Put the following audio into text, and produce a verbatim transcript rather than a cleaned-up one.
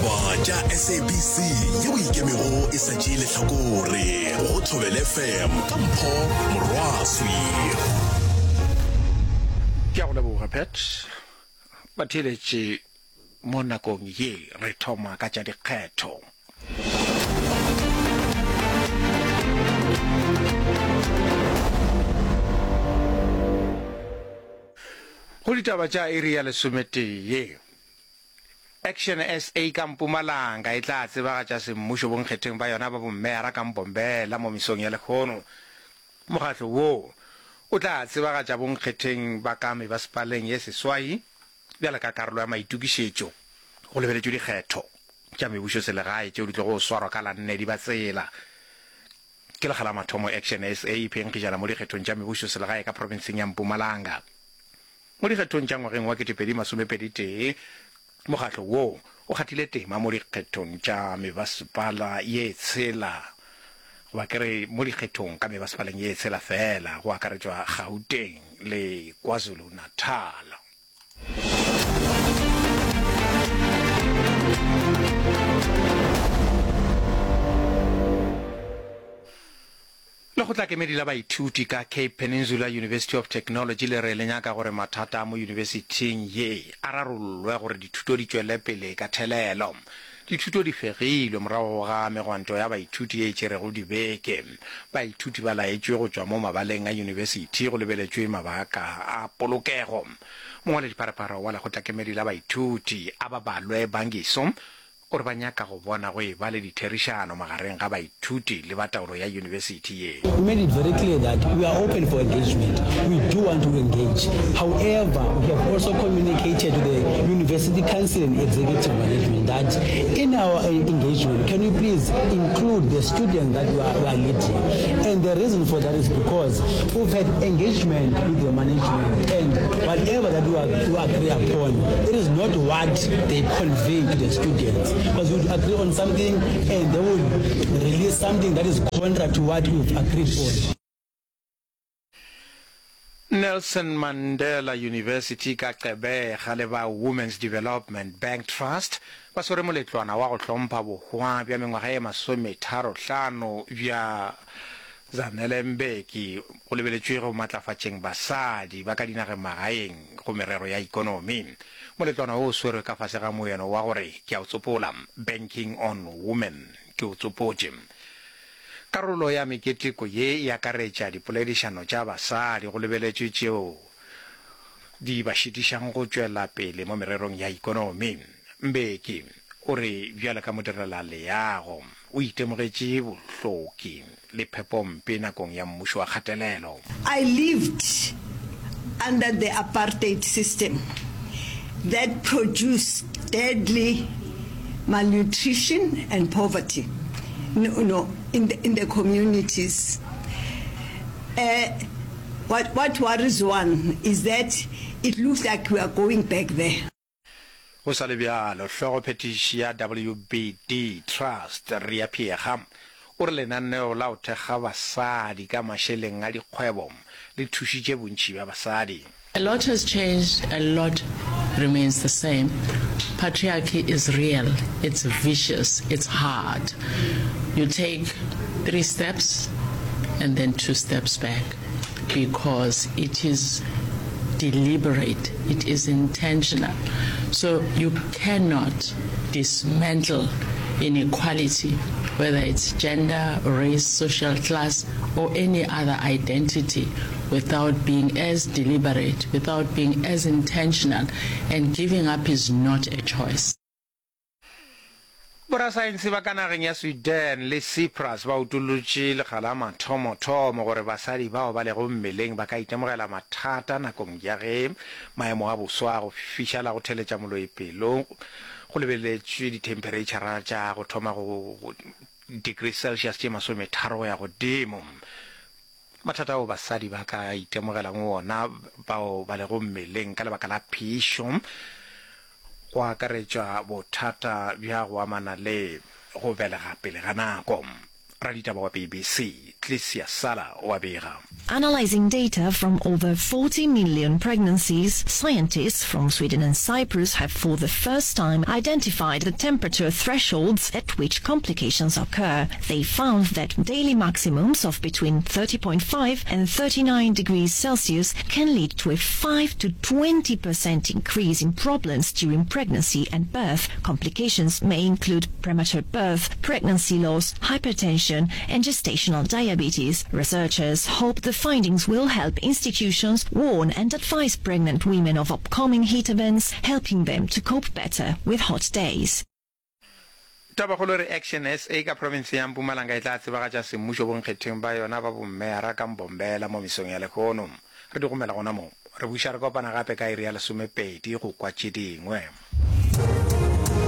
Ditaba tša S A B C yeo ikemego e sa tšee lehlakore go Thobela F M ka Mpho Morwaswi. Ke a go leboga, Pat. Batheeletši, mo nakong ye re thoma ka tša dikgetho. Go ditaba tša iri ya lesometee, Action S A ka Mpumalanga e tla tsebagatša semmušo bonkgetheng ba yona ba bommeyara ka Mbombela mo mesong ya lehono. Mokgatlo wo o tla tsebagatša bonkgetheng ba ka mebasepaleng ye seswai bjalo ka karolo ya maitokišetšo go lebeletšwe dikgetho tša mebušoselegae tšeo di tlogo swarwa ka la nne Dibatsela. Ke lekga la mathomo Action S A e phenkgišana mo dikgethong tša mebušoselegae ka profenseng ya Mpumalanga. Mo dikgethong tša ngwageng wa ketepedi masomepedi tee, mokgatlo wo o kgathile tema mo dikgethong tša mebasepala ye tshela, goba ke re mo dikgethong ka mebasepaleng ye tshela feela, go akaretšwa Gauteng le KwaZulu-Natal. Lekgotlakemedi la baithuti ka Cape Peninsula University of Technology le re le nyaka gore mathata a mo yunibesithing ye a rarollwe gore dithuto di tšwele pele ka thelelo. Dithuto di fegilwe morago ga megwanto ya baithuti ye e tšerego dibeke. Baithuti ba laetšwe go tšwa mo mabaleng a yunibesithi go lebeletšwe mabaka a polokego. Mongwaledipharephare wa lekgotlakemedi la baithuti, Ababalwe Bangiso, o re ba nyaka go bona go eba le ditherišano magareng ga baithuti le ba taolo ya yunibesithi ye. We made it very clear that we are open for engagement. We do want to engage. However, we have also communicated to the University Council and Executive Management that in our engagement, can we please include the students that we are, we are leading? And the reason for that is because we've had engagement with the management, and whatever that we, are, we agree upon, it is not what they convey to the students. Because we would agree on something and they would release something that is contrary to what we've agreed on. Nelson Mandela University ka Gqeberha le ba Women's Development Bank Trust ba swere moletlwana wa go hlompha bohwa bja mengwaga ye masometharo-hlano bja Zanele Mbeki go lebeletšwe go matlafatšeng basadi ba ka dinageng magaeng go merero ya ikonomi. Moletlwana wo o swerwe ka fase ga moeno wa gore ke a o tsopola, Banking on Women, ke o tsopotše. Karolo ya meketeko ye e akaretša dipoledišano tša basadi go lebeletšwe tšeo di ba šitišang go tšwela pele mo mererong ya ikonomi. Mbeki o re bjalo ka modirelaleago o itemogetše bohloki le phepompe nakong ya mmušo wa kgatelelo. I lived under the apartheid system that produced deadly malnutrition and poverty no, no, in, the, in the communities. Uh, what, what worries one is that it looks like we are going back there. Go sa le bjalo, hlogophethiši ya W B D Trust, Ria Phiyega, o re lenaneo la go thekga basadi ka mašeleng a dikgwebo le thušitše bontši bja basadi. A lot has changed, a lot remains the same. Patriarchy is real, it's vicious, it's hard. You take three steps and then two steps back because it is deliberate, it is intentional. So you cannot dismantle inequality, whether it's gender, race, social class, or any other identity, without being as deliberate, without being as intentional, and giving up is not a choice. Borasaense ba ka nageng ya Sweden le Cyprus ba utolotše lekga la mathomothomo gore basadi bao ba lego mmeleng ba ka itemogela mathata nakong ya ge maemo a boso a go fiša la go theletša moloi pelo go lebeletšwe dithemphereitšhara tša go thoma go degree Celsius tše masometharo go ya godimo. Mathata ao basadi ba ka itemogelang wona bao ba lego mmeleng ka lebaka la phišo go akaretšwa bothata bja go amana le go belega pele ga nako. Raditaba wa B B C Clicia Sala o a bega. Analyzing data from over forty million pregnancies, scientists from Sweden and Cyprus have for the first time identified the temperature thresholds at which complications occur. They found that daily maximums of between thirty point five and thirty-nine degrees Celsius can lead to a five to twenty percent increase in problems during pregnancy and birth. Complications may include premature birth, pregnancy loss, hypertension, and gestational diabetes. Researchers hope the findings will help institutions warn and advise pregnant women of upcoming heat events, helping them to cope better with hot days. Tabakgolo e re Action S A ka profenseng ya Mpumalanga e tla tsebagatša semmušo bonkgetheng ba yona ba bommeyara ka Mbombela mo mesong ya lehono. Re di gomela gona mo. Re buša re kopana gape ka iri ya lesomepedi go kwa tše dingwe.